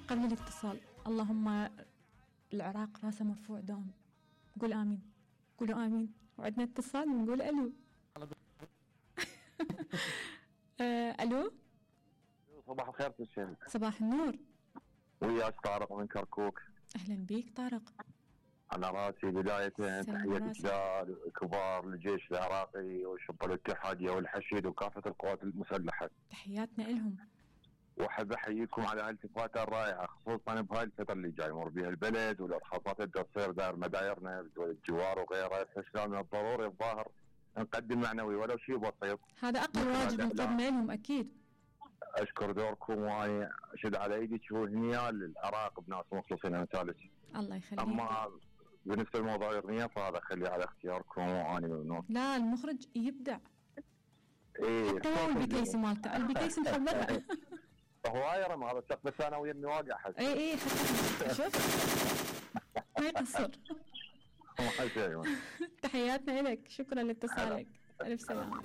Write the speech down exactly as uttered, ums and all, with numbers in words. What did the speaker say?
قبل الاتصال: اللهم العراق راسه مرفوع دوم. قول آمين. قولوا آمين. وعندنا اتصال ونقول ألو. آه، ألو. صباح الخير تسلم. صباح النور. وياك طارق من كركوك. أهلا بيك طارق. على راسي بداية تحية كبار للجيش العراقي وشرطة الاتحادية والحشيد وكافة القوات المسلحة. تحياتنا لهم. واحب احييكم على هالالتفاتة الرائعة، خصوصا بهاي الفترة اللي جاي يمر بها البلد والارهاصات اللي تصير داير مدايرنا بدول الجوار وغيرها. يحس من الضروري الظاهر نقدم معنوي ولو شيء بسيط. هذا اقل واجب نقدمه لهم اكيد. اشكر دوركم وانا اشد على ايدك وهنيا للعراق بناس مخلصين امثالك. الله يخليك. اما بالنسبه لموضوع الاغنيه فهذا خليه على اختياركم وانا ممنون. لا المخرج يبدع. ايه حتى هو البكيسي مالته، البكيسي محضرها. هو هايرم هذا السقف الثانوي اني واقع حس. اي اي شوف ما يقصر. تحياتنا لك، شكرا لاتصالك. الف سلامه.